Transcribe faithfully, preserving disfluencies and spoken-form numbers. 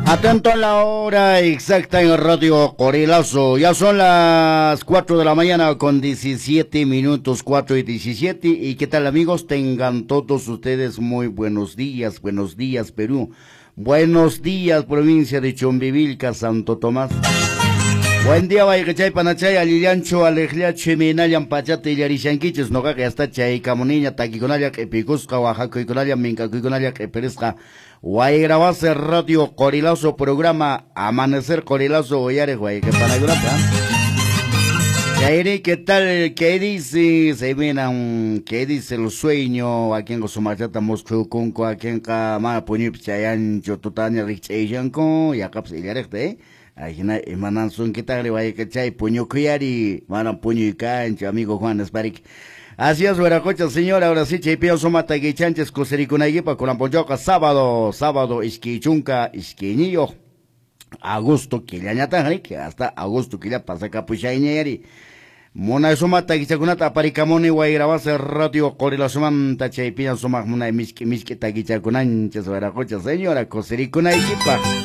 Atento a la hora exacta en Radio Qorilazo. Ya son las cuatro de la mañana con diecisiete minutos, cuatro y diecisiete. ¿Y qué tal, amigos? Tengan todos ustedes muy buenos días. Buenos días, Perú. Buenos días, provincia de Chumbivilca, Santo Tomás. Buen día, wayqichay, panachay, allillanchu, aleqllachu, imaynallan pachata illarishankichis, noqaqa hasta chaykamuniña, takikunalla q'ipikusqa, waqakuykunalla, minkakuykunalla q'ipirisqa. Wayrawase Radio Qorilazo, programa Amanecer Qorilazo, uyariq wayqipanakunapa. Chayri, ¿qué tal? ¿Qué dice? Se miran, ¿qué dice el sueño? Wakinqa sumaqllata musqhukunku, wakinqa mana puñuypi chayanchu, tutaña rikch'ayshanku, yaqapas illariqta, eh? Ajina imanan sunkitaqri wayqichay puñukuyari, mana puñuy kanchu, amigo Juan Esparik. Así es, Hueracocha, señor, ahora sí, chaypiña suma taquichanches kusirikunaykipa kunan p'unchawqa sábado, sábado iskay chunka iskayniyuq agosto killañataqri, hasta agosto killa pasakapushayñayari. Munay suma takichakunata aparikamuni Wayrawase Radio Qorilazomanta, chaypiña sumaq munay misk'i misk'i takichakunanchis, Hueracocha, señora, kusirikunaykipaq.